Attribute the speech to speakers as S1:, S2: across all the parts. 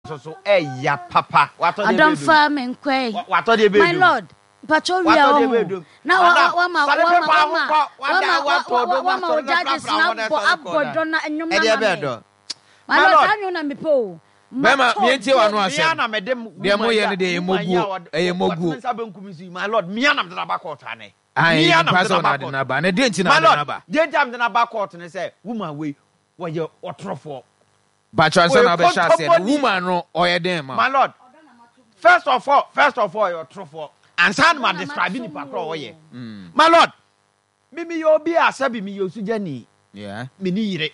S1: Nso so ɛya papa. Watɔ deɛ bɛyɛ dum.
S2: Ɔdɔmfa me nkɔe.
S1: Watɔ deɛ bɛyɛ
S2: My
S1: dum.
S2: lord, mpakyɛ wia
S1: Watɔ deɛ
S2: wɔ
S1: bɛyɛ
S2: ho.
S1: dum.
S2: Na
S1: Madam,
S2: wama
S1: sɔre
S2: wama
S1: pepa ho
S2: wama
S1: kɔ. Wada
S2: wama
S1: watɔ dom
S2: wama wo
S1: asɔre na
S2: judges
S1: prapra
S2: na
S1: ho na
S2: abɔ
S1: sɔre kɔ
S2: abɔ
S1: da.
S2: dɔ na nnwom na
S1: Ɛdeɛ
S2: ma
S1: bɛyɛ
S2: me.
S1: dɔ.
S2: My
S1: My
S2: lord,
S1: lord.
S2: saa nnwom na mepɛ o.
S3: Bɛma
S2: Matɔ
S3: mientie w'ano
S2: dɔ.
S1: Mea
S3: asɛm.
S1: na mede
S3: Deɛ
S1: woman
S3: moyɛ
S1: yi
S3: no
S1: a
S3: deɛ ɛyɛ
S1: woman yi a
S3: moguo.
S1: ɔde
S3: Ɛyɛ
S1: ɔte
S3: moguo.
S1: me nsa benkum so yi my lord mea na mede no aba court anɛ.
S3: Ae,
S1: Mea na
S3: mpa
S1: mede
S3: sɛ
S1: no
S3: wo na
S1: aba
S3: ade
S1: court.
S3: no aba. Na deɛ nti na
S1: My
S3: ade no
S1: lord,
S3: aba?
S1: deɛ nti a mede no aba court ne sɛ woman wei wɔyɛ ɔtorofoɔ.
S3: Mpakyɛ ansa
S1: Ɔyɛ
S3: na wabɛhyɛ aseɛ no,
S1: kontomponi.
S3: woman no ɔyɛ dɛn ma wo?
S1: My lord, first of all, first of all ɔyɛ ɔtorofoɔ. Ansa na ma describe nipa korɔ a ɔyɛ. My lord, Me meyɛ obi a sɛbi meyɛ osugyani, menni yere,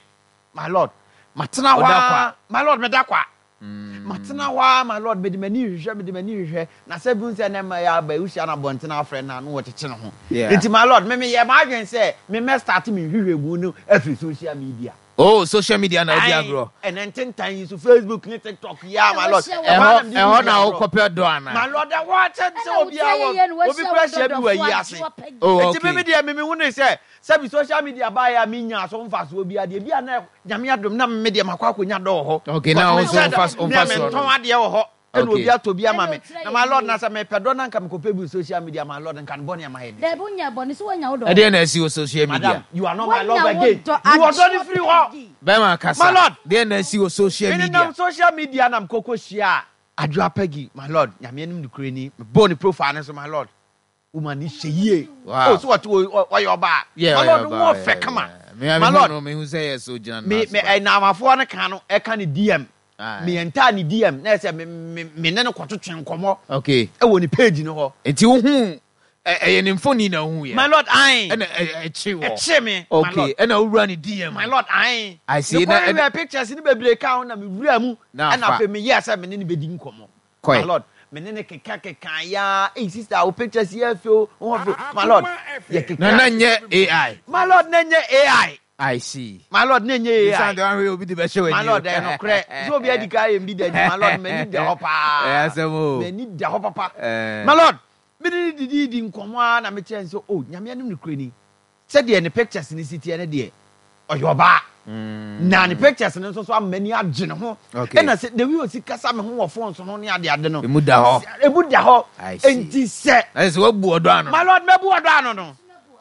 S1: my lord, matena hɔ ara, my lord, meda kwa, matena hɔ ara, my lord, mede m'ani hwehwɛ, mede m'ani hwehwɛ, na sɛbi wohu sɛ ɛnɛ mma yi aba yi, wohyia no abɔnten afrɛ no a, na wɔkyekye ne ho. Nti my lord, me meyɛɛ m'adwene sɛ me mɛ start me nhwehwɛmu no afiri social media.
S3: Oh, social media na wodi
S1: Ae,
S3: agorɔ.
S1: ɛnɛ ntentan yi so, Facebook ne TikTok yi a, my lord, ɛhɔ
S3: Ɛhɔ
S1: ara na mede
S3: ɛhɔ
S1: di
S3: na
S1: agorɔ.
S3: wokɔpɛ dɔ anaa?
S1: My lord, ɛhɔ ara kyɛ sɛ
S2: Ɛna wo
S1: obiara
S2: tiri
S1: wɔ,
S2: ayɛ yie na
S1: obi
S2: wahyia
S1: kura
S2: wo
S1: hyia bi wɔ
S2: dɔdɔfoɔ
S1: ayi ase.
S2: agye wapɛ
S3: Oh,
S1: Enti
S3: okay.
S1: me me deɛ me mehu ne sɛ, sɛbi social media baeɛ a menyaa so mfasoɔ biara deɛ, ebia na Nyame adom na me deɛ makɔ akɔnya dɔ wɔ hɔ.
S3: Okay, na
S1: Because
S3: wo nso
S1: menhyɛ da,
S3: womfa
S1: me a
S3: womfa soɔ
S1: mentɔn
S3: no.
S1: adeɛ wɔ hɔ, ɛna
S3: Okay.
S1: obi atɔ bi ama
S2: Ɛna
S1: me.
S2: otira
S1: Na
S2: yɛ
S1: my lord,
S2: yie.
S1: na sɛ mepɛ dɔ na nka mekɔpɛ bi wɔ social media, my lord, nka ne bɔne a mayɛ ne
S2: Dabi
S1: sɛn?
S2: wonyɛ bɔne sɛ woanya wo dɔ.
S3: Ɛdeɛn na asi wɔ social media?
S1: Madam, you are not my
S2: Woanya
S1: love
S2: wo
S1: again.
S2: dɔ
S1: Yi
S2: agye
S1: ɔdɔ no firi
S2: wapɛ
S1: hɔ.
S2: di.
S3: Bɛrima
S1: My
S3: kasa.
S1: lord,
S3: Deɛn na asi wɔ social
S1: me
S3: media?
S1: nenam social media na mekɔkɔ hyiaa Adwoa Peggy, my lord, Nyame anim nokorɛ ni, mebɔɔ ne profile no so, my lord, woman no hyɛ yie.
S3: Wow.
S1: Oh, so wɔte ɔyɛ ɔbaa.
S3: Yeah,
S1: My
S3: ɔyɛ
S1: lord,
S3: ɔbaa,
S1: ho ɔfɛ
S3: yeah,
S1: kama.
S3: yeah. Me a
S1: My
S3: mehu
S1: lord,
S3: no, mehu sɛ yɛ so gyina
S1: me
S3: n'ase
S1: me
S3: pa.
S1: ɛnamafoɔ no ka no ɛka ne DM.
S3: Aye.
S1: Me enter ne DM na ɛsɛ me me me ne no kɔtwetwe nkɔmɔ.
S3: Okay.
S1: Ɛwɔ ne page no hɔ.
S3: Nti wohu ɛyɛ ne mfoni na wohu yɛ.
S1: My lord, ae.
S3: Ɛna ɛkye wɔ.
S1: Ɛkye me. My
S3: Okay,
S1: lord.
S3: ɛna wowura ne DM.
S1: My lord, ae.
S3: I see. Na
S1: Mekɔ hwehwɛ pictures no bebree ka ho na mewura mu.
S3: Na
S1: Ɛna
S3: afa.
S1: afei meyɛɛ sɛ me ne no bɛdi nkɔmɔ.
S3: Kɔe.
S1: My lord, me ne no keka keka ya. Ei sister, wo pictures yɛ fɛ o, wo ho fɛ. My lord, yɛ keka.
S3: Na na nyɛ AI.
S1: My lord, na nyɛ AI.
S3: I see.
S1: My lord, na nyɛ AI.
S3: Esan de wahwɛ obi de bɛhyɛ w'ani.
S1: My lord, ɛyɛ nokorɛ. Sɛ obi adi ka ayɛ mbi da nti, my lord, m'ani da hɔ paa.
S3: Ɛyɛ asɛm o.
S1: M'ani da hɔ papa. My lord, me ne no didii di nkɔmmɔ ara na mekyerɛ no sɛ, oh, Nyame anim nokorɛ ni, Sɛdeɛ ne pictures no si teɛ no deɛ, ɔyɛ ɔbaa. Na ne pictures no nso so ama m'ani agye ne ho.
S3: Okay.
S1: Ɛna sɛ the way ɔsi kasa me ho wɔ phone so no ne ade ade no.
S3: Emu da hɔ.
S1: Emu da hɔ.
S3: I see.
S1: Enti sɛ.
S3: Na sɛ wabu ɔdɔ ano.
S1: My lord, mɛbu ɔdɔ ano no.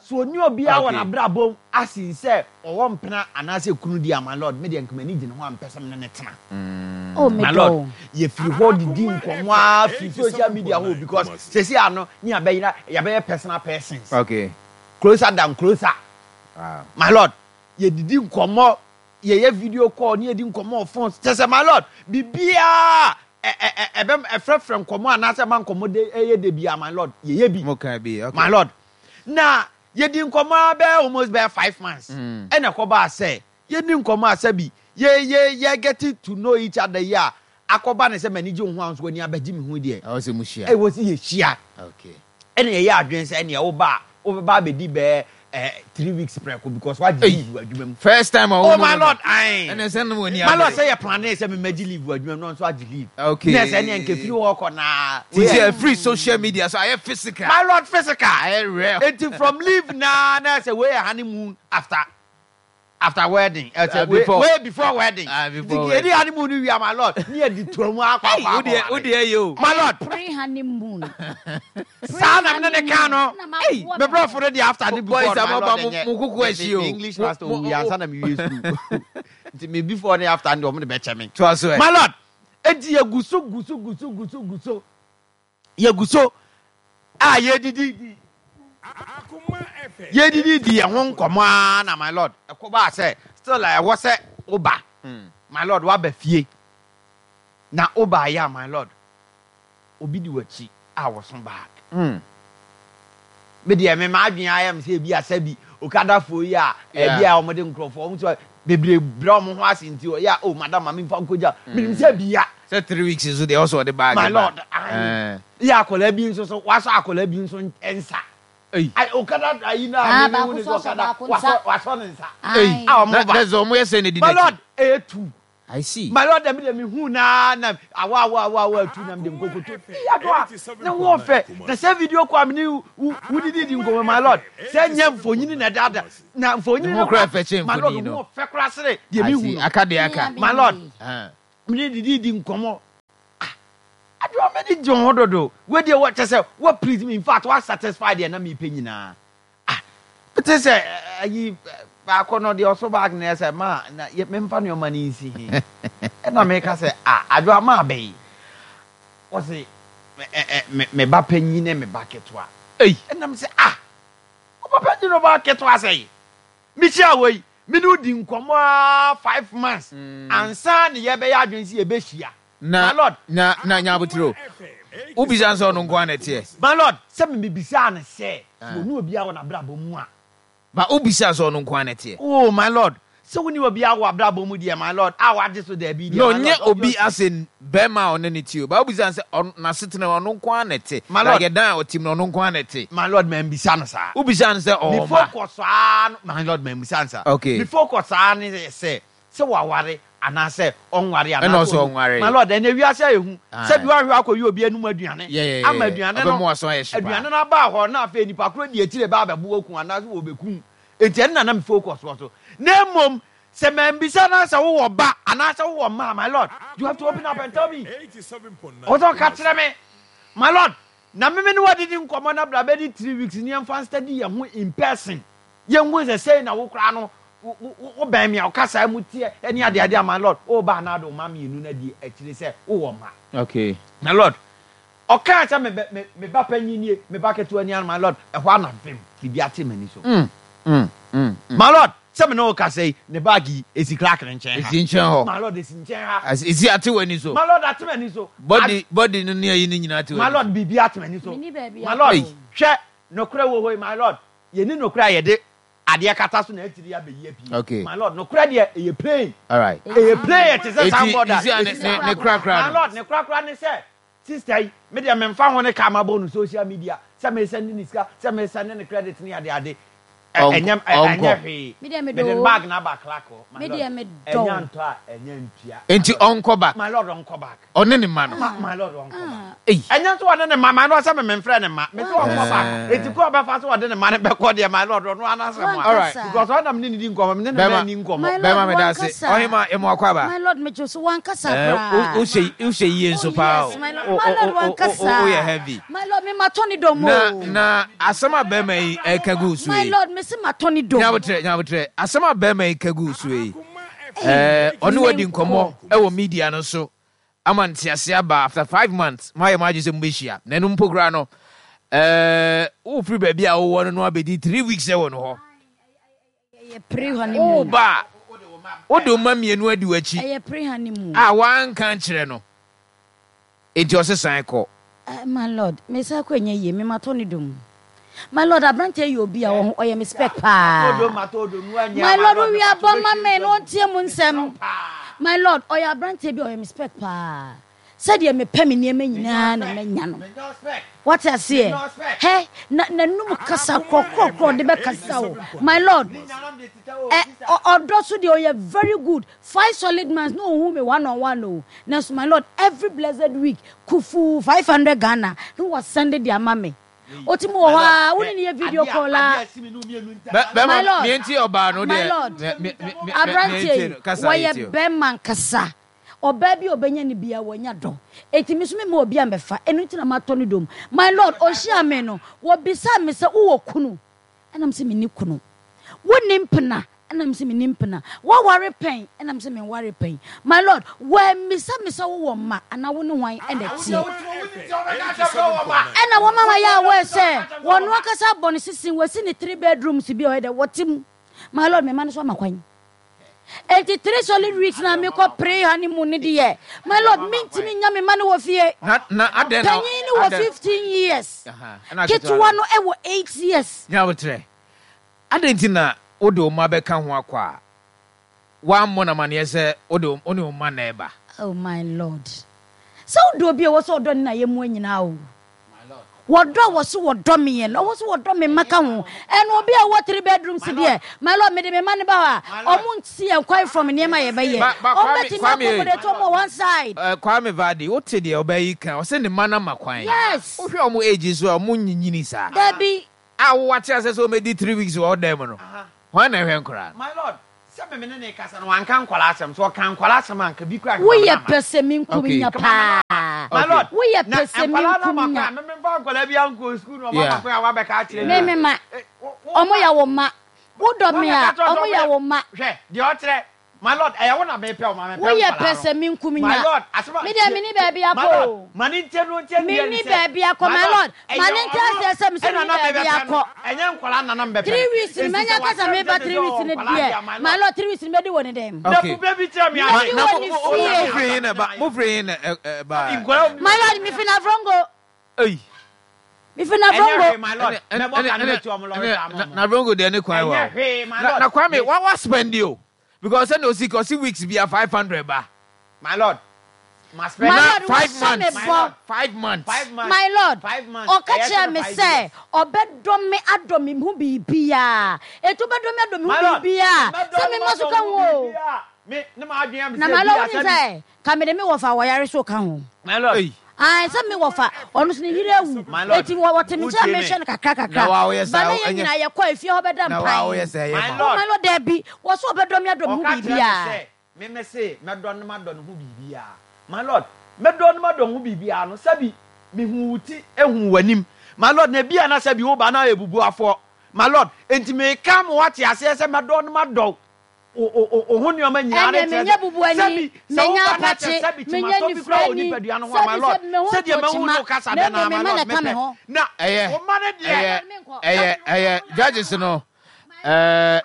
S1: So ɔni obiara wɔ
S3: Okay.
S1: n'abrabɔ mu asen sɛ ɔwɔ mpena anaasɛ kunu deɛ a, my lord, me deɛ nka m'ani gye ne ho a mpɛ sɛ me ne no tena.
S2: Oh, me
S1: My
S2: dɔ
S1: lord,
S2: o.
S1: yɛfiri hɔ didi nkɔmmɔ ara firi social media hɔ o because seesei ano ne yɛabɛyera yɛabɛyɛ personal persons.
S3: Okay.
S1: Closer than closer.
S3: Wow.
S1: My lord, yɛdidi nkɔmmɔ, yɛyɛ video call ne yɛdi nkɔmmɔ wɔ phone so. Kyerɛ sɛ my lord, biribiara a ɛbɛ ɛfrɛfrɛ nkɔmmɔ anaasɛ ɛma nkɔmmɔ de ɛyɛ dɛ biara my lord, yɛyɛ bi.
S3: Mo ka bi, okay.
S1: My lord, na yɛdi nkɔmmɔ ara bɛyɛ almost bɛyɛ 5 months. Ɛna ɛkɔbaa sɛ yɛdi nkɔmmɔ a sɛbi yɛ yɛ yɛ getting to know each other yi a akɔba ne sɛ m'ani gye wo ho a nso w'ani abɛgye me ho deɛ.
S3: Ɛwɔ sɛ mo hyia.
S1: Ɛwɔ sɛ yɛhyia.
S3: Okay.
S1: Ɛna yɛyɛ adwene sɛ ɛneɛ woba a wobɛba abɛdi bɛyɛ 3 weeks prɛko because wagye leave wɔ adwuma mu.
S3: First time a
S1: Oh my lord, ae.
S3: Ɛna sɛ no w'ani
S1: My lord, sɛ yɛ plane sɛ memagye leave wɔ adwuma mu na ɔnso agye leave.
S3: Okay.
S1: Na sɛ ɛneɛ nka firi hɔ kɔ naa.
S3: Ti sɛ ɛfiri social media so ayɛ physical.
S1: My lord, physical.
S3: Ayɛ real.
S1: Enti from leave naa na sɛ wei yɛ honeymoon after wedding. Ɛsɛ wei
S3: Before.
S1: Wei before wedding.
S3: Ah, before
S1: Nti
S3: wedding.
S1: yɛdi honeymoon no wie a, my lord, ne yɛde tuo mu akɔ akɔ akɔ.
S3: Wodeɛ wodeɛ yɛ o.
S1: My lord.
S2: Pre honeymoon.
S1: Saa na mene ne ka no.
S2: Ei,
S1: me brɔfo no deɛ after ne before
S3: Boys,
S1: no, my
S3: mo
S1: lord,
S3: ba mo
S1: ɛnyɛ.
S3: mo kuku ahyi o.
S1: Me English master owu yɛ ansa na me wie school. Nti me before ne after no deɛ ɔmo de bɛkyɛ me.
S3: Toa so ɛ.
S1: My lord, enti yɛgu so gu so gu so gu so gu so. Yɛgu so a yɛdidi di yɛdidi di yɛn ho nkɔmmɔ ara na my lord ɛkɔbaa sɛ still a ɛwɔ sɛ woba. My lord, woaba fie na wobaeɛ a, my lord, obi di w'akyi a wɔso bag. Me deɛ me m'adwene ayɛ me sɛ ebi asa bi okadafoɔ yi a ebi a wɔde nkurɔfoɔ wɔn nso bebree brɛ wɔn ho ase nti ɔyɛ a, oh madam, maame nfa nkogya menim sɛ bia.
S3: Sɛ 3 weeks nso deɛ ɔsɔ ɔde bag
S1: My
S3: ba.
S1: lord, ayi yɛ akwadaa bi nso so wasɔ akwadaa bi nso nsa.
S3: Ei.
S1: Ayi okada ayi na
S2: Ah,
S1: mi mi hu
S2: baako
S1: ne
S2: so
S1: sɛ
S2: asɔ
S1: okada
S2: baako
S1: wasɔ
S2: nsa.
S1: wasɔ ne nsa.
S3: Ei.
S1: A wɔn
S3: Na
S1: ba.
S3: na sɛ ɔmo yɛ sɛ na di
S1: My
S3: n'akyi.
S1: lord, ɛyɛ two.
S3: I see.
S1: My lord, dɛm deɛ mehu naa na awa awa awa awa tu nam de nkokoto yado a ne ho ɔfɛ na sɛ video kɔ a mene wo wodidi di nkɔmmɔ, my lord, sɛ nyɛ mfonyini na ɛdada na mfonyini
S3: Ne ho
S1: no
S3: koraa fɛ kyɛn
S1: my lord
S3: mfonyini no.
S1: ho ɔfɛ koraa sere deɛ
S3: I
S1: mehu
S3: see.
S1: no.
S3: Aka deɛ aka.
S1: My lord,
S3: Ah.
S1: mene didi di nkɔmmɔ. M'ani gye wo ho dodo. Wei deɛ wɔ kyɛ sɛ wa please me in fact wa satisfy deɛ na mepɛ nyinaa. Ah, mete sɛ ayi baako no deɛ ɔso bag no yɛ sɛ ma na yɛ memfa nneɛma no nsi he. Ɛna meka sɛ ah adwoa ma abɛyi. Ɔse me me ba panyin ne me ba ketewa.
S3: Ei.
S1: Ɛna me sɛ ah wo ba panyin ne wo ba ketewa sɛn? Mehyia wɔ yi me ne wo di nkɔmmɔ ara 5 months ansa ne yɛbɛyɛ adwene sɛ yɛbɛhyia.
S3: Na,
S1: My lord.
S3: na, na nya abotire o. Wobisa no sɛ ɔno nko ara na ɛteɛ?
S1: My lord, sɛ me mebisaa no sɛ, sɛ ɔne obiara wɔ n'abrabɔ mu a.
S3: Ba, wobisaa sɛ ɔno nko ara na ɛteɛ?
S1: Oh, my lord, sɛ wonni obiara wɔ w'abrabɔ mu deɛ, my lord, a wagye so daabi deɛ,
S3: No,
S1: my lord,
S3: nyɛ obi
S1: obviously.
S3: as in barima a ɔne no te o. Ba, wobisaa no sɛ ɔno, n'asetena mu, ɔno nko ara na ɛte?
S1: My lord.
S3: Like ɛdan a ɔte mu no, ɔno nko ara na ɛte?
S1: My lord, mambisa no saa.
S3: Wobisaa no sɛ
S1: Me
S3: ɔwɔ mma?
S1: focus ara no, my lord, mambisa no saa.
S3: Okay.
S1: Me focus ara ne sɛ, sɛ waware anaasɛ ɔnware
S3: Ɛna
S1: anaasɛ
S3: ɔsɛ
S1: ɔnni.
S3: ɔnware.
S1: My lord, ɛnɛ wiase ayɛ hu.
S3: Aye.
S1: Sɛ bi wahwɛ akɔyi obi anum aduane
S3: Yeah, yeah, yeah,
S1: ama
S3: yeah.
S1: aduane no
S3: Ɔbɛma w'aso ayɛ hye paa.
S1: aduane no aba hɔ na afei nipa koro di akyire ba abɛbo aku anaasɛ wɔbɛku wo. Enti ɛno na na me focus wɔ so. Na mmom sɛ mambisa na sɛ wowɔ ba anaasɛ wowɔ mma a, my lord, you have to open up and tell me. Ɔwɔ sɛ ɔka kyerɛ me. My lord, na me me ne wo adidi nkɔmmɔ na bra bɛdi 3 weeks ni yɛmfa nstudy yɛn ho in person. Yɛnhu sɛ sei na wo koraa no wo bɛn me a wo kasaa mu teɛ ne adeade a my lord wo ba anaa de wo mma mmienu no adi akyire sɛ wo wɔ mma.
S3: Okay.
S1: My lord ɔkaa sɛ me me me ba panyin nie me ba ketewa ni ano my lord ɛhɔ ara na vem biribi ate m'ani so. My lord sɛ me ne wo kasa yi ne bag yi esi crack ne nkyɛn ha.
S3: Esi nkyɛn hɔ.
S1: My lord esi nkyɛn ha.
S3: Esi ate w'ani so.
S1: My lord ate m'ani so.
S3: Body body no ne ayi no nyinaa ate w'ani so.
S1: My lord biribi ate m'ani so.
S2: Menni baabi
S1: My lord
S2: akɔ o.
S1: hwɛ nokorɛ wɔ hɔ yi my lord Yɛnni nokorɛ a yɛde adeɛ kata so na akyiri yi abɛyi apue.
S3: Okay.
S1: My lord, nokorɛ deɛ ɛyɛ plain.
S3: Alright.
S1: Ɛyɛ plain ɛte sɛ
S3: Eti,
S1: signboard a
S3: you see a ne
S1: ɛsi
S3: ne ne korakora
S1: My
S3: no.
S1: lord, ne korakora ne sɛ, sister yi, me deɛ memfa ho ne ka mabɔ no social media, sɛ mesɛnde ne sika, sɛ mesɛnde ne credit ne adeade, ɛ
S3: Ɔnkɔ
S1: ɛnyɛ ɛ ɛnyɛ
S3: ɔnkɔ.
S1: hwee.
S2: Me deɛ medɔ
S1: Mede ne
S2: o.
S1: bag no aba Clark hɔ, my
S2: Me
S1: lord,
S2: deɛ medɔ
S1: ɛnyɛ
S2: o.
S1: antɔ a, ɛnyɛ antua, my
S3: Enti
S1: lord.
S3: ɔnkɔ back.
S1: My lord, ɔnkɔ back.
S3: Ɔne ne mma no.
S1: Ma my lord ɔnkɔ back.
S3: Ei.
S1: Ɛnyɛ nso ɔne ne mma, my lord sɛ me memfrɛ ne mma. Me sɛ ɔnkɔ back.
S3: Ɛɛ.
S1: Eti kɔ ɔbɛfa so ɔde ne mma no bɛkɔ deɛ my lord ɔno ara n'asɛm a.
S3: Alright.
S1: Because ɔna me ne ne di nkɔmmɔ, me ne ne mma
S3: Bɛma
S1: nni nkɔmmɔ.
S2: My lord
S3: bɛma meda ase.
S2: wankasa.
S3: Ɔhema emu akɔ aba.
S2: My lord megye so wankasa
S3: Ɛɛ wo
S2: koraa.
S3: wohyɛ wohyɛ yie
S2: Oh
S3: nso paa o.
S2: yes, my lord.
S3: O
S2: My
S3: o
S2: lord
S3: o o o
S2: wankasa.
S3: woyɛ heavy.
S2: My lord me matɔ ne dɔm
S3: Na
S2: o.
S3: na asɛm a bɛrima yi ɛka gu so
S2: My
S3: yi.
S2: lord me se matɔ ne dɔm.
S3: Nyabotrɛ nyabotrɛ asɛm a bɛrima yi ka gu so yi. Ɛɛ ɔne wadi nkɔmmɔ ɛwɔ media no so ama ntease aba after 5 months moayɛ mo adwene sɛ mobɛhyia na ɛno mpo koraa no ɛɛ wofiri baabi a wowɔ no no abɛdi 3 weeks ɛwɔ no hɔ.
S2: Ɛyɛ pre honeymoon.
S3: Woba a wode wo mma mmienu adi w'akyi
S2: Ɛyɛ pre honeymoon.
S3: a woanka nkyerɛ no enti ɔse san kɔ.
S2: Eh, my lord, me sa kɔ ɛnyɛ yie, me matɔ ne dom. My lord, aberanteɛ yɛ obi a ɔho ɔyɛ me spec paa. My lord, wo wia bɔ ma me na ɔntie mu nsɛm. My lord, ɔyɛ aberanteɛ bi a ɔyɛ me spec paa. Sɛdeɛ mepɛ me nneɛma nyinaa na manya no. Wate aseɛ? Hɛ, na n'anum kasa korɔkorɔkorɔ de bɛkasa o. My lord, ɛ, ɔdɔ so deɛ ɔyɛ very good. 5 solid months na ɔhu me one on one o. Nanso my lord, every blessed week, kufuu 500 Ghana na wasɛnde de ama me. Ɔtumi wɔ hɔ a, wo ne no yɛ video call a. My
S3: Bɛrima
S2: lord,
S3: meɛnti ɔbaa no
S2: my
S3: deɛ
S2: lord,
S3: me me me me
S2: aberanteɛ
S3: meɛntie
S2: yi,
S3: no kasa
S2: wɔyɛ
S3: yɛtie o.
S2: bɛrima ankasa. Ɔbaa bi a ɔbɛnya no biara, wanya dɔ. Enti me nso memma obi ammɛfa. Ɛno nti na matɔ no dom. My lord, ɔhyiaa me no, wɔbisaa me sɛ, Wowɔ kunu? Ɛna mese, Menni kunu. Wonni mpena? Ɛna mese, Menni mpena. Woaware pɛn? Ɛna mese, Menwaree pɛn. My lord, wɔammisa me sɛ, Wowɔ mma anaa wo ne hwan na ɛteɛ? Ɛna wɔma mayɛ aware sɛ wɔn ankasa abɔ no sisi, wɔasi ne three bedrooms bi a ɔyɛ dɛ, wɔte mu. My lord, me mma no nso ama kwan. Enti 3 solid weeks na mekɔ pre honeymoon no deɛ, my lord, mentumi nya me mma no wɔ fie.
S3: Na na adɛn na
S2: Panyin no wɔ
S3: adɛn
S2: 15 years,
S3: aha ɛna ketewa
S2: ketewa
S3: no
S2: no wɔ 8 years.
S3: Nyabotrɛ adɛn nti na wode wo mma bɛka ho akɔ a woammɔ no amanneɛ sɛ wode wo ne wo mma na ɛba?
S2: Oh my lord, sɛ wodɔ obi a ɛwɔ sɛ ɔdɔ ne na yɛmmoa nyinaa o. Wɔdɔ a wɔso wɔdɔ me yɛ no, ɔwɔ so wɔdɔ me mma ka ho. Ɛna obi a ɔwɔ three bedrooms deɛ, my lord, mede me mma no ba hɔ a, ɔmo nsi yɛn kwan from nneɛma a yɛbɛyɛ.
S3: Ba ba
S2: Ɔmo
S3: Kwame
S2: bɛtumi
S3: Kwame ei.
S2: accommodate ɔmo wɔ one side.
S3: Eh, Kwame Vardy, wote deɛ ɔbaa yi ka, ɔse ne mma no ama kwan.
S2: Yes.
S3: Wohwɛ ɔmo age nso a, ɔmo nyinyini saa.
S2: Dabi.
S3: A wo wate aseɛ sɛ ɔmɛdi 3 weeks wɔ wo dan mu no, hwan na ɛhwɛ nkoraa no?
S1: My lord, sɛ me me ne ne kasa no wanka nkwadaa asɛm, sɛ ɔka nkwadaa asɛm a anka bi koraa anka
S2: Woyɛ
S1: mamena ama.
S2: pɛsɛmenkominya
S3: Okay.
S2: paa.
S1: My lord,
S2: Woyɛ
S1: na nkwadaa no ama
S2: pɛsɛmenkominya.
S1: kwan a, me memfa nkwadaa biara nkɔɔ sukuu na wɔama kwan a wɔabɛka akyerɛ
S2: Me
S1: me.
S2: me ma. Ɔmo yɛ wo mma. Wodɔ me
S1: Wɔabɛka
S2: a,
S1: kyerɛ wo sɛ
S2: ɔmo
S1: ɔmo
S2: yɛ
S1: yɛ
S2: wo mma.
S1: Hwɛ, deɛ ɔkyerɛ, my lord, ɛyɛ wo na mepɛ wo, ma mepɛ
S2: Woyɛ
S1: nkwadaa no. My
S2: pɛsɛmenkominya.
S1: lord, asɛm a
S2: Me deɛ
S1: tie,
S2: menni baabi
S1: my
S2: akɔ
S1: lord,
S2: o.
S1: ma ne ntie no ntie deɛ ne
S2: Menni
S1: sɛ,
S2: baabi akɔ,
S1: my
S2: my
S1: lord,
S2: lord. Ma
S1: ɛyɛ
S2: ne nte
S1: ɔno
S2: aseɛ sɛ mese
S1: ɛna
S2: menni
S1: na
S2: baabi
S1: mebɛpɛ no,
S2: akɔ.
S1: ɛnyɛ nkwadaa na na mebɛpɛ
S2: Three
S1: no.
S2: weeks no,
S1: Enti
S2: manya
S1: sɛ
S2: ka sɛ
S1: wakyerɛ me
S2: meba
S1: sɛ
S2: three
S1: sɛ
S2: weeks
S1: ɔwɔ
S2: no
S1: nkwadaa
S2: deɛ,
S1: deɛ a, my
S2: my
S1: lord,
S2: lord, 3 weeks no mɛdi wɔ ne dɛm.
S1: na
S3: Okay.
S1: bu bɛ bi kyerɛ me
S2: Mɛdi
S1: ase.
S3: Na
S2: wɔ
S3: mo
S2: ne
S3: mo
S1: Wo na
S2: fie.
S3: mo firi
S1: me
S3: he na
S1: asa
S3: ɛba
S1: me
S3: mo
S1: mayɛ.
S3: firi he na ɛ ɛ
S1: Sɛbi
S3: ɛbaeɛ?
S1: nkwadaa
S2: My lord, mefi Navrongo.
S3: Ei.
S2: Mefi
S1: Ɛnyɛ
S2: Navrongo.
S1: hwee my lord,
S3: Ɛne ɛne
S1: mɛbɔ
S3: ɛne
S1: ka no
S3: ɛne
S1: mɛtu ɔmo lɔre
S3: ɛne
S1: saa ama
S3: na
S1: ɔmo.
S3: Navrongo deɛ ne kwan wa
S1: Ɛnyɛ
S3: o.
S1: hwee my
S3: Na
S1: lord,
S3: na Kwame
S1: me
S3: wa wa spend o because sɛnea osi ka ɔsi weeks bia 500 ba.
S1: My lord, ma
S2: My
S1: spend.
S3: Na
S2: lord,
S3: five
S2: wahyɛ me
S3: months
S1: My
S2: bɔ.
S1: lord,
S3: 5 months.
S1: 5 months,
S2: My lord,
S1: 5 months,
S2: ɔka
S1: ɛyɛ
S2: kyerɛɛ
S1: sene
S2: me
S1: five
S2: sɛ
S1: years.
S2: ɔbɛdɔ me adɔ me ho biribiara. Enti wobɛdɔ me adɔ me ho
S1: My lord,
S2: biribiara
S1: mɛdɔ
S2: sɛ
S1: no
S2: me mma so
S1: madɔ
S2: ka
S1: wo
S2: ho
S1: ho
S2: o.
S1: biribiara. Me ne m'adwene yɛ me
S2: Na
S1: sɛ
S2: my lord,
S1: ebia
S2: wonim
S1: sɛbi.
S2: sɛ ka mede me wɔfa a wɔyare so ka ho.
S1: My lord.
S3: Ei.
S2: Ae, sɛ me wɔfa, ɔno nso ne yere awu.
S1: My lord,
S2: Enti wɔte me nkyɛn a
S1: wotie me.
S2: mehwɛ no kakra
S3: Na
S2: kakra.
S3: wa woyɛ
S2: Ba
S3: saa
S2: na yɛn
S3: ɛnyɛ
S2: nyinaa yɛkɔ a efie hɔ bɛda
S3: na wa woyɛ
S2: mpan.
S3: saa ɛyɛ
S1: My
S3: ma
S2: Oh
S3: wo.
S1: lord,
S2: my lord, dabi, wɔse ɔbɛdɔ me adɔ me ho
S1: ɔka kyerɛ me
S2: biribiara.
S1: sɛ me me se mɛdɔ no madɔ ne ho biribiara. My lord, mɛdɔ no madɔ ho biribiara no, sɛbi mehu wo ti hu w'anim. My lord, na ebia na sɛbi wo ba na ayɛ bubuafoɔ. My lord, enti meka ma woate aseɛ sɛ mɛdɔ no madɔ wo wo wo ho nneɛma nyinaa no
S2: Ɛnneɛ
S1: kyerɛ
S2: menyɛ
S1: sɛ
S2: bubuani,
S1: sɛbi sɛ
S2: menyɛ
S1: wo ba na kyɛ
S2: apakye,
S1: sɛbi
S2: menyɛ
S1: kyimatɔ bi koraa wɔ
S2: nifirani,
S1: nipadua no ho a, my
S2: sɛbi
S1: lord,
S2: sɛbi me ho
S1: sɛdeɛ
S2: ntɔ
S1: mahu
S2: kyima,
S1: ne wo kasa
S2: na
S1: dɛ no
S2: mmom
S1: ara,
S2: me
S1: my
S2: mma na
S1: lord,
S2: ɛka me
S1: mepɛ.
S2: ho.
S1: Na
S3: Ɛyɛ
S1: wo mma no deɛ,
S3: ɛyɛ
S2: Menkɔ.
S3: ɛyɛ ɛyɛ judges no ɛɛ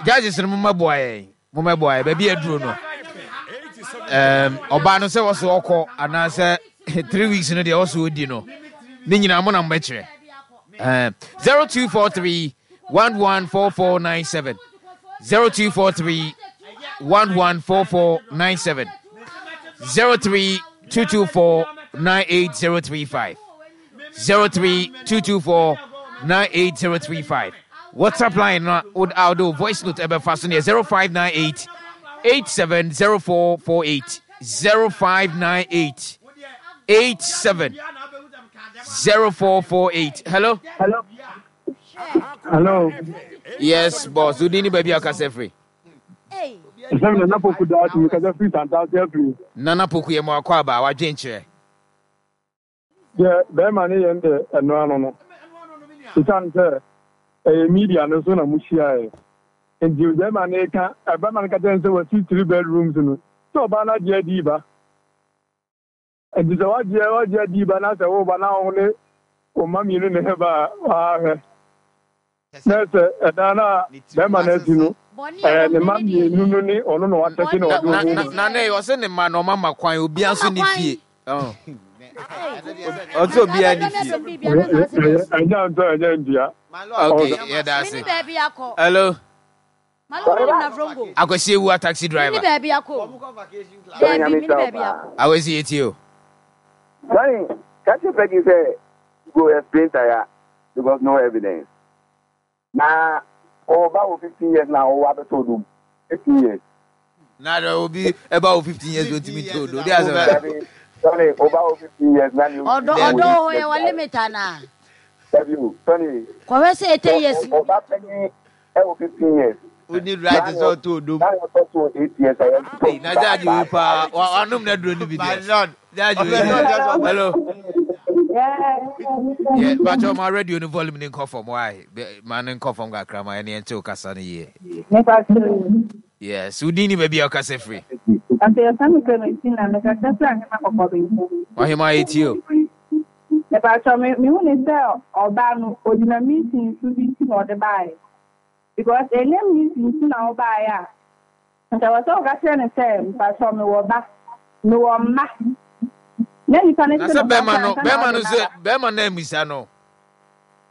S3: judges no mommɛboa yɛn mommɛboa yɛn baabi aduro no ɛɛm ɔbaa no sɛ wɔso ɔkɔ anaasɛ 3 weeks no deɛ wɔso ɔdi no ne nyinaa mo na mobɛkyerɛ ɛɛm 0243 114497 0243 114497 03224 98035 03224 98035 WhatsApp line no a wode wo voice note ɛbɛfa so no yɛ 0598 870448 0598 870448. Hello?
S4: Hello. Hello.
S3: Yes, boss. Wodin ne baabi a wokasa firi?
S4: Ɛsɛm Nana Poku Daakye, mekasa firi Santase afiri.
S3: Nana Poku yɛ mo akɔ aba, wadwenkyerɛ.
S4: Deɛ bɛrima no yɛ no deɛ ɛno ano no, ɛsiane sɛ ɛyɛ media no so na mohyiaeɛ nti bɛrima no reka, bɛrima no ka kyerɛ no sɛ wasi three bedrooms no, sɛ ɔbaa no agye adi ba. Nti sɛ wagye wagye adi ba na sɛ woba na wo ne wo mma mmienu na ɛba a, waahwɛ. Na sɛ ɛdan no a bɛrima no asi no, ɛyɛ ne mma mmienu no ne ɔno na watɛte na ɔde
S3: Na
S4: wɔn
S3: na
S4: mu.
S3: na na ɔsɛ ne mma no ɔma ma kwan obiara nso ne fie. Ɔsɛ obiara ne fie.
S4: Ɛnyɛ ntɔ ɛnyɛ ndua.
S3: Okay, yɛda ase. Hello. Akwasi Ewua taxi driver. Akwasi yɛtie o.
S5: Sonny, catch your Peggy say go explain tire because no evidence. Na ɔba wɔ 15 years na ɔwɔ abɛtɔ odom 15 years.
S3: Na dɛ obi ɛba wɔ 15 years otumi tɔ odom. De asɛm
S5: na. Sonny, ɔba wɔ 15 years na ni.
S2: Ɔdɔ ɔdɔ wɔ hɔ yɛ wɔ limit ana.
S5: Dabi o, Sonny.
S2: Kɔhwɛ sɛ 80 years.
S5: Ɔba panyin ɛwɔ 15 years.
S1: Woni right sɛ ɔtɔ odom.
S5: Na ɔtɔ so 8 years a yɛn
S3: tɔ. Na judge wi paa wanom na duro no bi deɛ. Judge wi. Hello. Yeah, but my radio no volume ni nkɔ fam why? Ma no nkɔ fam kakra ma ɛne ɛnte wo kasa no yie. Yes, wodin ni baabi a wokasa firi.
S6: Ante yɛfrɛ me Clementina, mekasa firi Ahema Kɔkɔbɛnta.
S3: Ɔhema yɛtie o.
S6: Mepakyɛw me mehu ne sɛ ɔbaa no ogyina meeting so bi nti na ɔde baeɛ because ɛnyɛ meeting nti na wobaeɛ a nka ɛwɔ sɛ woka kyerɛ no sɛ mepakyɛw mewɔ ba mewɔ mma na nipa no
S3: Na
S6: te
S3: sɛ
S6: no
S3: bɛrima
S6: kasa
S3: no
S6: ansa na
S3: bɛrima
S6: wode
S3: no
S6: no
S3: sɛ
S6: aba.
S3: bɛrima no ammisa no.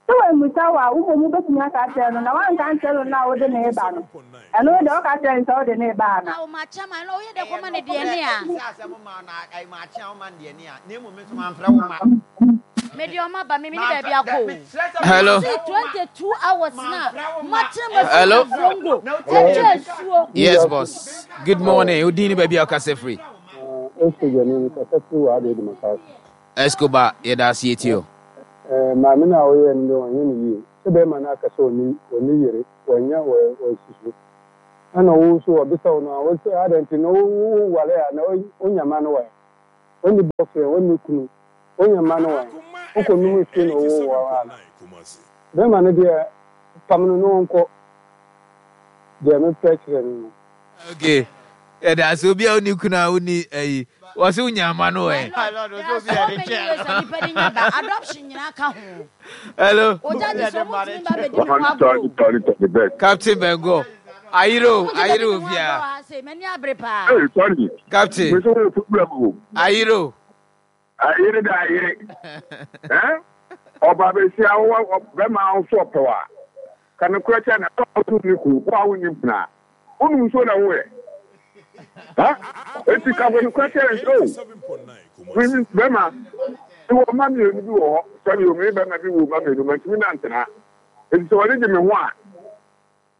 S6: Sɛ wammisa wo a, wo mmom wobɛtumi aka akyerɛ no, na woanka ankyerɛ no no a wode no reba no, ɛno deɛ woka kyerɛ no sɛ wode no reba anaa?
S2: Awo makye ama no, woyɛ dɛ kɔma no deɛ ne a.
S1: Sɛ asɛm ma na makye a woma no deɛ ne a, na mmom me nso mamfrɛ wo ma.
S2: Me deɛ ɔma ba me mene baabi akɔ o.
S3: Hello.
S2: See 22 hours na matena ma fi
S3: Hello.
S2: Navrongo ɛtwa asuo.
S3: Yes boss. Good morning. Odin ni baabi a ɔkasa firi.
S4: Esco Gyani, mekasa firi wɔ Addo Edumaka ase.
S3: Escobar, yɛda ase yɛtie o.
S4: Eh, maame no a ɔyɛɛ no deɛ ɔnyɛ no yie. Sɛ bɛrima no aka sɛ ɔnni ɔnni yere, wanya wɔ wasi so. Ɛna wo nso wɔbisa wo no a, wose adɛn nti na wo woware a na wonya mma no wɔ he? Onni boyfriend, onni kunu, onya mma no wan? Wokɔ nom nsuo na ɔwoo wo ara. Bɛrima no deɛ pam no na ɔnkɔ deɛ mepɛ kyerɛ no no.
S3: Okay yɛda ase obi a wonni kunu a wonni ayi wɔse wonya mma no ɛ.
S2: My lord, there are so many ways a nipa de nya ba adoption nyinaa ka ho.
S3: Hello.
S2: Ogya gye so ɔmo ntumi ba bɛdi me ho agorɔ o.
S3: Captain Bengo ayere o ayere o bia.
S2: M'ani abere paa.
S5: Hey, Tony.
S3: Captain.
S5: Me so wo problem o.
S3: Ayere o.
S5: Ayere da ayere. Eh? Ọba besia wo bɛma wo so ɔpɛ wa. Ka no korɛ kyɛ na wo ne ku wo a wo nim pena. Wo num nsuo na wo yɛ. Ha? Eti ka no korɛ kyɛ no o. Me bɛma me wɔ mma mmienu bi wɔ hɔ. Sɛbi o me bɛma bi wɔ mma mmienu mantumi nantena. Eti sɛ wɔde gye me ho a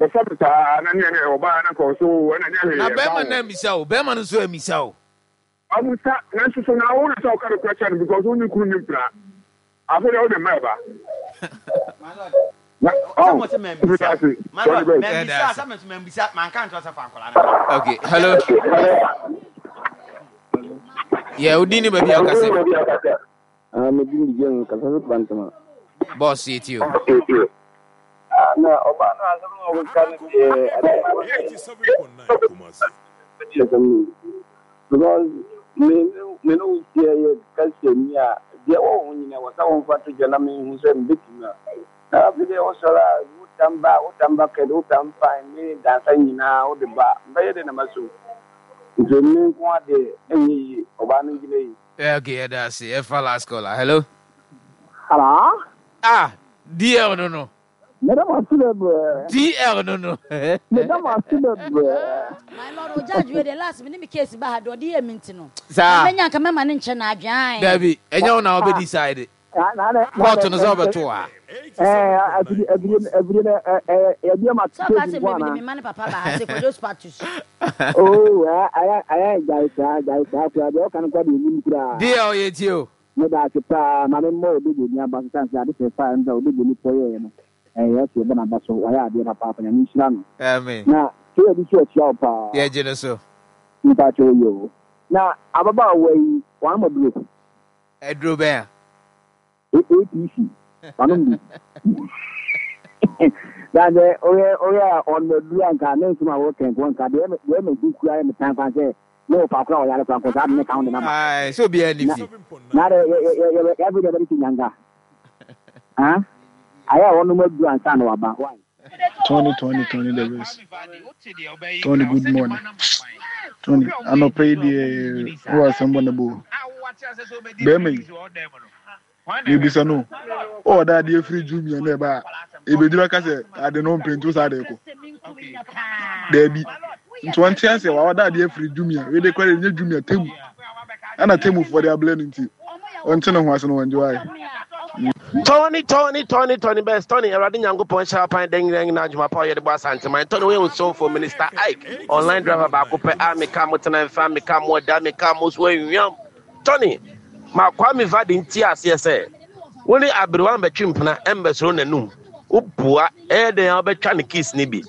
S5: bɛfa me saa na ne ɛne ɔbaa na kɔ so ɛna nyɛ hwee
S3: Na
S5: ɛmfa
S3: bɛrima
S5: ho.
S3: no ammisa o, bɛrima no nso ammisa o.
S5: Ɔmmisa, nanso so na wo na sɛ woka nokorɛ kyerɛ no because wo ne kunu nni mpena. Afei deɛ wode mma ɛba. Na oh, meda ase. Tony Best.
S3: Yɛda ase. Okay, hello. Yeah, wo din ne baabi a wokasa fi.
S7: Ah, me din de James, kasa fi Bantama.
S3: Boss, yɛtie o.
S7: Ah, na ɔbaa no asɛm na ɔkeka no deɛ adeɛ asɛm no because me me ne wo hyia yɛ kasa ni a deɛ wɔ ho nyina wɔ sɛ wɔmfa to dwa na mehu sɛ mebɛtumi a na afei deɛ wosɔre a wotam ba wotam bucket wotam pan ne dansa nyinaa wode ba mbɛyɛ dɛ na maso nti me nko adeɛ ɛnyɛ yie ɔbaa no gyina yi.
S3: Yeah, okay, yɛda ase. Yɛfa last caller. Hello.
S8: Hello.
S3: Ah, DL no no.
S8: Meda mo ase bebree.
S3: DL no no.
S8: Meda mo ase bebree.
S2: My lord, o judge wei de last me ne me case ba ha de ɔde yɛ me nti no.
S3: Saa.
S2: Na menya nka mɛma ne nkyɛ na adwen.
S3: Dabi, ɛnyɛ wo na wobɛ decide. Court no sɛ wobɛto a.
S8: Afidie no yɛde ama
S2: Sɛ ɔka sɛ mebɛde me ma ne papa ba ha sɛ kwadwo spatus.
S8: Oh, ayɛ ayɛ gyae saa gyae saa koraa deɛ ɔka no koraa deɛ ɔnim koraa.
S3: DL yɛtie o.
S8: Meda ase paa ma me mmɔ Odogoni aba so sane sɛ ade fɛfɛ a ɛnda Odogoni pɔ yɛɛ no ɛyɛ ɔsɛ yɛbɔ n'aba so wayɛ adeɛ papaapa Nyame nhyira no.
S3: Amen.
S8: Na Kea bi so akyia wo paa.
S3: Yɛgye no so.
S8: Mpakyɛw yoo. Na ababaawa yi wanom aduro?
S3: Aduro bɛn a?
S8: APC wanom bi. Na sɛ woyɛ woyɛ a ɔnom aduro a nka ne nsɛm a wɔka nko nka deɛ deɛ ɛma bi kura yɛ metan kwan sɛ ne wɔ faako a ɔyare kora nkɔ saa de ne ka ho de naba.
S3: Ae sɛ obiara nni fie.
S8: Na de yɛ yɛ yɛ yɛ afei deɛ bɛde ti nyanka. Ah ayɛ a wɔnom aduro ansa na waba why.
S9: Tony Tony Tony the best Tony good morning Tony anɔpa yi deɛ wowɔ asɛm bɔ ne bo bɛrima yi mebisa no o ɔda adeɛ firi jumia na ɛba a ɛbɛduru aka sɛ ade no mpɛ nti saa de kɔ daabi nti wɔnte aseɛ wa ɔda adeɛ firi jumia wei de kora de nyɛ jumia temu ɛna temufoɔ de ablɛ no nti ɔnte ne ho ase no wɔngye wae
S10: Tony, Tony, Tony, Tony Best, Tony, Awurade Nyankopɔn hyɛ apan dɛn nyina nyina adwuma pa ɔyɛ de bɔ Asanteman. Tony, woyɛ osomfo, Minister Ike, online driver baako pɛ a meka mo tena mfa, meka mo ɛda, meka mo so anwiam. Tony, ma Kwame Vadi nti aseɛ sɛ, wo ne aberewa mbɛtwe mpena mbɛsoro n'anum. Wobua, ɛyɛ dɛn a wobɛtwa ne kiss ne bi.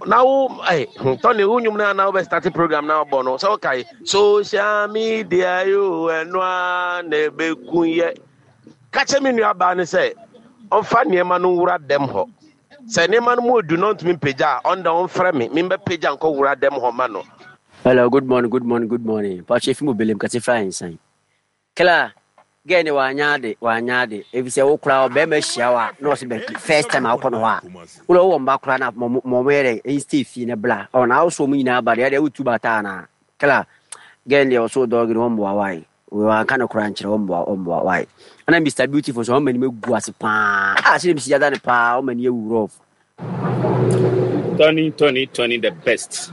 S10: Na wo, eh, Tony, wo nnwom no a na wobɛ start program na wobɔ no, sɛ wokae, social media yo, ɛno a na ɛbɛku yɛ. Ka kyerɛ me nuabaa no sɛ ɔmfa nneɛma no nwura dɛm hɔ. Sɛ nneɛma no mu odu na ɔntumi mpagya a, ɔno deɛ ɔmfrɛ me, membɛpagya nkɔwura dɛm hɔ ma no.
S11: Hello, good morning, good morning, good morning. Pacho efi mo belem kase fra nsan. Kla, girl ne wanya ade, wanya ade. Efi sɛ wo kora ɔbɛrima ahyia wo a, na ɔsɛ bɛ first time a wokɔ no hɔ a. Wo na wowɔ mba kora na mo mo yɛ dɛ, ɛn stay fie na bla. Ɔ na awoso ɔmo nyinaa ba deɛ, ɛdeɛ wotu bata anaa. Kla, girl deɛ ɔso dɔg no ɔmboa wae. Wanka no koraa nkyerɛ ɔmboa ɔmboa why ɛna Mister Beautiful nso ɔma anim agu ase paa ah sɛ mesi yada no paa ɔma ani awu rough.
S12: Tony Tony Tony the best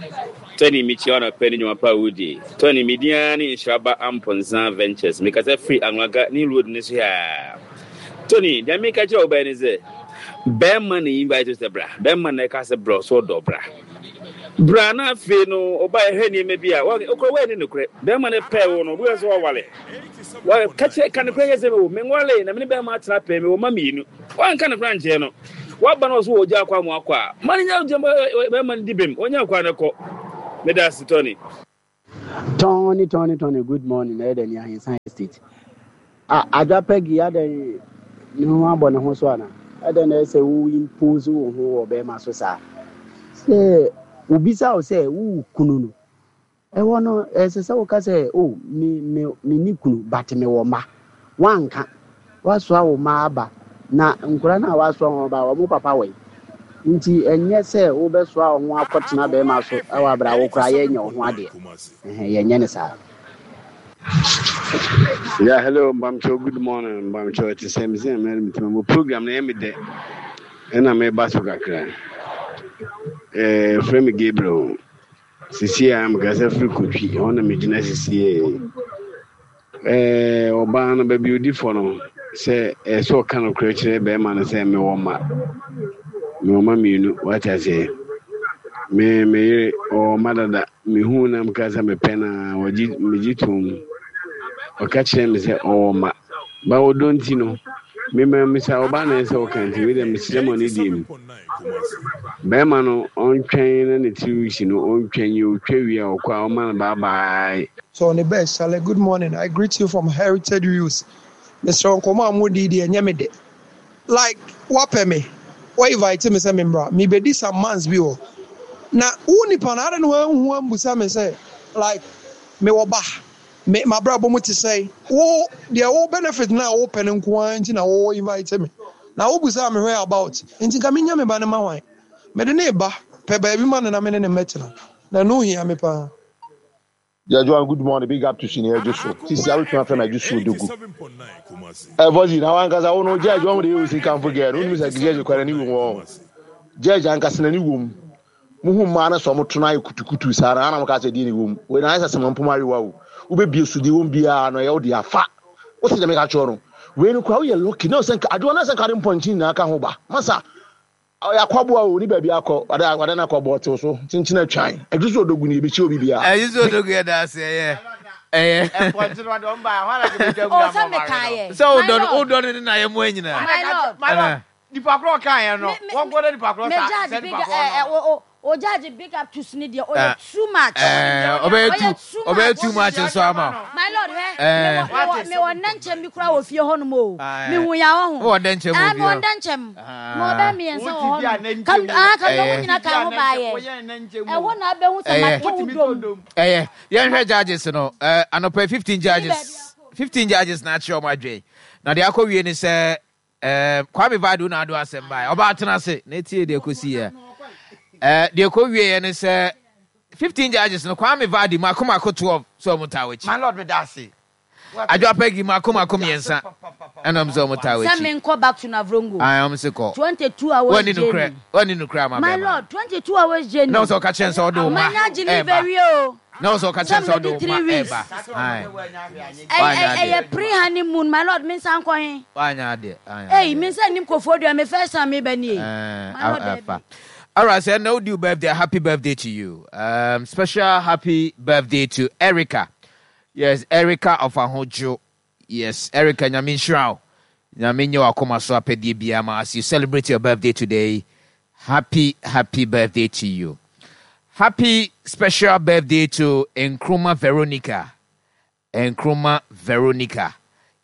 S12: Tony mekyia wo anɔpa ne nnwuma pa a wodie Tony me din ara ne Nhyiraba Amponsah Ventures mekasa firi Anwaga ne road no so haa Tony deɛ meka kyerɛ wo bɛyɛ ne sɛ bɛrima na invite wo sɛ bra bɛrima na ɛka sɛ bra ɔsɛ ɔdɔ bra Bra na afei no ɔba ɛhwɛ nneɛma bi a ɔkura wɔyɛ ne nokorɛ. Bɛrima no pɛɛ wo no, obi wɔ sɛ ɔwale. Ka kyerɛ ka nokorɛ yɛ sɛ o menwale na me ne bɛrima atena pɛɛ mewɔ mma mmienu. Wanka nokorɛ ankyerɛ no. Waba na ɔso wɔ ogya akɔ ama wakɔ a, ma no nya bɛrima no di bem. Ɔnya akɔ a no kɔ. Meda ase Tony.
S8: Tony Tony Tony good morning ɛyɛ dɛ ni Ahensan Estate. Ah Adwa Peggy adɛn ne ho abɔ ne ho so ana? Ɛdɛn na ɛsɛ wo impose wo ho wɔ bɛrima so saa? Sɛ obisa wo sɛ wo kunu no Ɛhɔ no, ɛsɛ sɛ woka sɛ, 'O, me, me, menni kunu, but mewɔ mma. Woanka. Woasoa wo mma aba, na nkwadaa no a woasoa wɔn aba, wɔn papa wɔ he? Nti ɛnyɛ sɛ wobɛsoa wo ho akɔtena barima so wɔ aberɛ a wo koraa yɛnyɛ wo ho adeɛ. Ɛhɛn, yɛnyɛ no saa.
S7: Yeah, hello, Mbamcho, good morning, Mbamcho, ɛte sɛ me sɛ mɛrɛ me tuma mo program na ɛyɛ me dɛ, ɛna meba so kakra. Eh, frɛ me Gabriel. Sisiei a mekasa firi Kotwi, ɛhɔ na megyina sisiei. Ɛɛ, ɔbaa no, baabi odi fɔ no, sɛ ɛyɛ sɛ ɔka nokorɛ kyerɛ bɛrima no sɛ mewɔ mma, mewɔ mma mmienu, wate aseɛ. Me, me yere, ɔwɔ mma dada, mehuu na meka sɛ mepɛ no a, wɔgye, megye toom. Ɔka kyerɛɛ me sɛ ɔwɔ mma. Ba ɔdɔ nti no, me ma misa ɔbaa na ɛsɛ ɔka nti, wei deɛ mesrɛ mo ne deɛ mu. Bɛrima no ɔntwɛn na ne tiri resi no ɔntwɛn yi ɔtwa wie a ɔkɔ a ɔma no bye bye.
S13: So ne best Chale good morning I greet you from Heritage Wheels mesrɛ wo nkɔmmɔ a modi yi deɛ ɛnyɛ me dɛ like woapɛ me wo invite me sɛ memmra mebɛdi some months bi wɔ na wo nipa no adɛn na wanhu ambusa me sɛ like mewɔ ba me mabrabɔ mu te sɛn wo deɛ wo benefit no a wopɛ no nko ara nti na wo invite me na wo busaa me where about nti nka menya me ba no ma hwan mede ne ba pɛ baabi ma no na me ne ne mmɛtena na ɛno hia me paa.
S14: Yeah, Joan, good morning. Big up to Senior Jusu. Sisi awo tuma fɛn na Jusu dogu. Ɛ voice na wankasa wo no judge wɔn de yɛ osi kanfo gɛɛ no. Wonum sɛ judge kwara ni wɔn. Judge ankasa na ni wɔm. Muhu mmaa no sɛ wɔn to no ayɛ kutukutu saa na ana mo ka sɛ deɛ na ɛwɔ mu. Wei na ayɛ sɛ sɛmɛ mpoma ayewa o. Wobɛbie so deɛ ɛwɔ mu biara no ɛyɛ wo deɛ afa. Wosi deɛ meka kyerɛ no. Wei no koraa woyɛ lucky na sɛ nka adewa na sɛ nka de mpɔnkye nyinaa ka ho ba. Masa ɔyɛ akwaboa o ni baabi akɔ wada wada na akwaboa ɔtew so kyenkyen atwan. Ɛdwo so odogu ni ebekyia obi biara.
S3: Ɛdwo so odogu yɛ da ase ɛyɛ ɛyɛ.
S1: Mpɔnkye no ɔde ɔmo ba hɔ na kebetwa
S2: mu na mo ma we no.
S3: Sɛ wodɔ no wodɔ no ne na yɛ mo anyinaa.
S2: My lord.
S1: My lord. Nipa korɔ ɔkaa yɛn no, wɔn kɔ na nipa korɔ sa sɛ nipa korɔ no.
S2: O o judge big up to sini deɛ ɔyɛ too much.
S3: Ɔbɛyɛ too ɔbɛyɛ too much nso ama.
S2: My lord hwɛ mewɔ mewɔ mewɔ nnɛnkyɛm bi koraa wɔ fie hɔ nom o. Mehu ya wɔ ho.
S3: Wɔ nnɛnkyɛm wɔ fie hɔ.
S2: Mewɔ nnɛnkyɛm. Mewɔ bɛyɛ mmiɛnsa wɔ hɔ nom. Kam ah kam na wɔn nyinaa ka ho baayɛ. Ɛhɔ na abɛhu sɛ mato wo dom.
S3: Ɛyɛ yɛnhwɛ judges no anɔpa 15 judges 15 judges na akyerɛ wɔn adwene na deɛ akɔ wie ne sɛ Eh, Kwame Badu na ado asɛm bae. Ɔbaa tena ase na etie deɛ kɔsi yɛ. Eh, deɛ kɔ wie yɛ ne sɛ 15 judges no Kwame Vadi mako mako 12 sɛ ɔmo taa w'akyi.
S1: My lord meda ase.
S3: Adwoa Peggy mako mako mmiɛnsa ɛna ɔmo sɛ ɔmo taa w'akyi.
S2: Sɛ menkɔ back to Navrongo.
S3: Ae ɔmo se kɔ.
S2: 22 hours
S3: Wani
S2: journey.
S3: nukurɛ, wani nukurɛ ama
S2: My
S3: bɛrima.
S2: lord, 22 hours journey.
S3: Na ɔsɛ ɔka kyerɛ no sɛ ɔde wo ma
S2: Manya
S3: ɛɛba.
S2: delivery o.
S3: Na ɔsɛ ɔka kyerɛ no sɛ ɔde wo ma ɛɛba. Ae. Wanyɛ adeɛ.
S2: Ɛyɛ pre honeymoon my lord me nsa nkɔ he.
S3: Wanyɛ adeɛ. Wanyɛ
S2: Ei
S3: adeɛ.
S2: me nsa nnim kofoɔ dua me first time meba nie.
S3: Eh,
S2: My lord daabi.
S3: afa. Alright, so ɛnna wodi wo birthday, happy birthday to you. Special happy birthday to Erica. Yes, Erica of Ahodwo. Yes, Erica, Nyame nhyira wo. Nyame nyɛ w'akoma so apɛdeɛ biara ma as you celebrate your birthday today. Happy, happy birthday to you. Happy special birthday to Nkrumah Veronica. Nkrumah Veronica.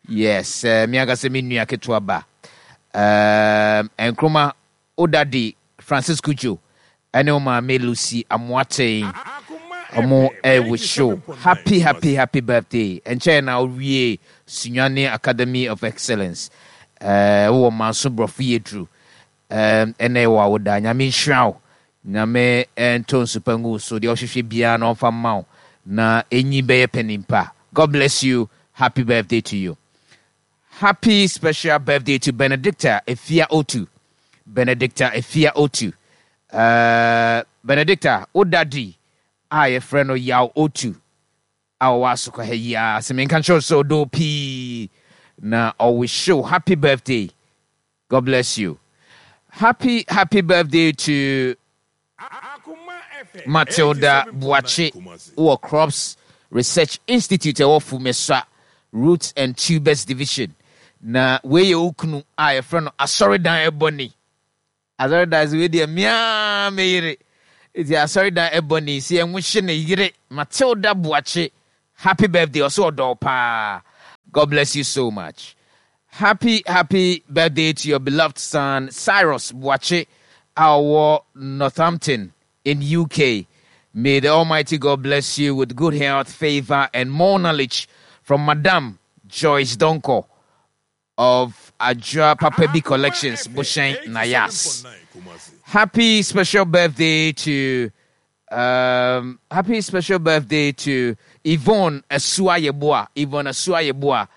S3: Yes, eh, me ankasa me nua ketewa ba. Um, Nkrumah, wo daddy Francis Cudjoe ɛne wo maame Lucy Amoateng ɔmo ɛwɔ show. Happy, happy, happy birthday. Ɛnkyɛn na wowie Sunyani Academy of Excellence. Eh, wowɔ Manso Borɔfo Yɛduru. Um, ɛnɛ wɔ awoda. Nyame nhyira wo. Nyame ntɔ nsupa ngu wo so. Deɛ ɔhwehwɛ biara na ɔmfa mma wo. Na enyi bɛyɛ panin pa. God bless you. Happy birthday to you. Happy special birthday to Benedicta Efia Otu. Benedicta Efia Otu. Uh, Benedicta, wo daddy a yɛfrɛ no Yaw Otu a ɔwɔ asokwa ha yi ara sɛ menka nkyerɛ wo sɛ ɔdɔ wo pii na ɔwihye wo happy birthday. God bless you. Happy happy birthday to Matilda Boakye wɔ Crops Research Institute ɛwɔ Fumesua Roots and Tubers Division. Na wei yɛ wo kunu a yɛfrɛ no Asɔredan Ɛbɔni. Asɔredan so wei deɛ mea me yere. Nti Asɔredan Ɛbɔni sɛ yɛnwohye ne yere Matilda Boakye. Happy birthday ɔsɛ ɔdɔ wo paa God bless you so much. Happy happy birthday to your beloved son Cyrus Boakye a ɔwɔ Northampton in UK. May the Almighty God bless you with good health, favor and more knowledge from Madam Joyce Donkor of Adwoa Papabi Collections, Bushen Nayas. Happy special birthday to um, happy special birthday to Yvonne Asua Yeboah. Yvonne Asua Yeboah,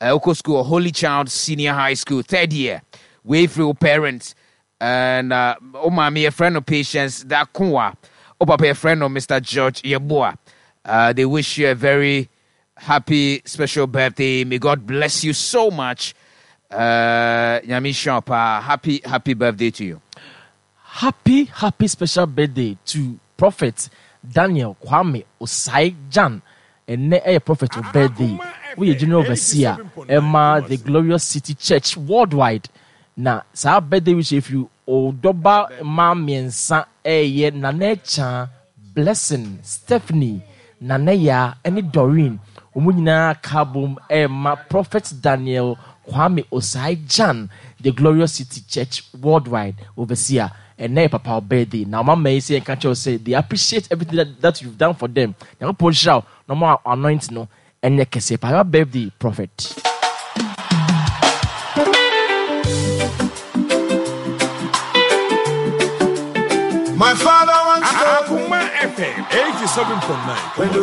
S3: uh, School, Holy Child Senior High School, third year. Wave for your parents. And uh, oh, mommy, a friend of Patience Dakunwa. Oh, papa, a friend of Mr. George Yeboah. Uh, they wish you a very happy special birthday. May God bless you so much. Uh, Nyame nhyira Happy, happy birthday to you.
S15: Happy happy special birthday to prophet Daniel Kwame Osai Gyan ɛnnɛ ɛyɛ prophet wo birthday woyɛ general overseer ɛma the glorious city church worldwide na saa birthday wish ɛfiri ɔdɔba mmaa mmiɛnsa ɛyɛ Nana Akyaa Blessing, Stephanie, Nana Yaa ɛne Doreen wɔn nyinaa ka abom ɛrema Prophet Daniel Kwame Osai Gyan The Glorious City Church Worldwide Overseer ɛnnɛ yɛ papa wo birthday na wɔn ama yi sɛ yɛnka nkyerɛ wo sɛ they appreciate everything that, that you've done for them Nyankopɔn nhyira wo na ɔma wo anointing no ɛnyɛ kɛseɛ pa happy birthday prophet.
S16: My father once told
S17: me. Akuma FM 87.9.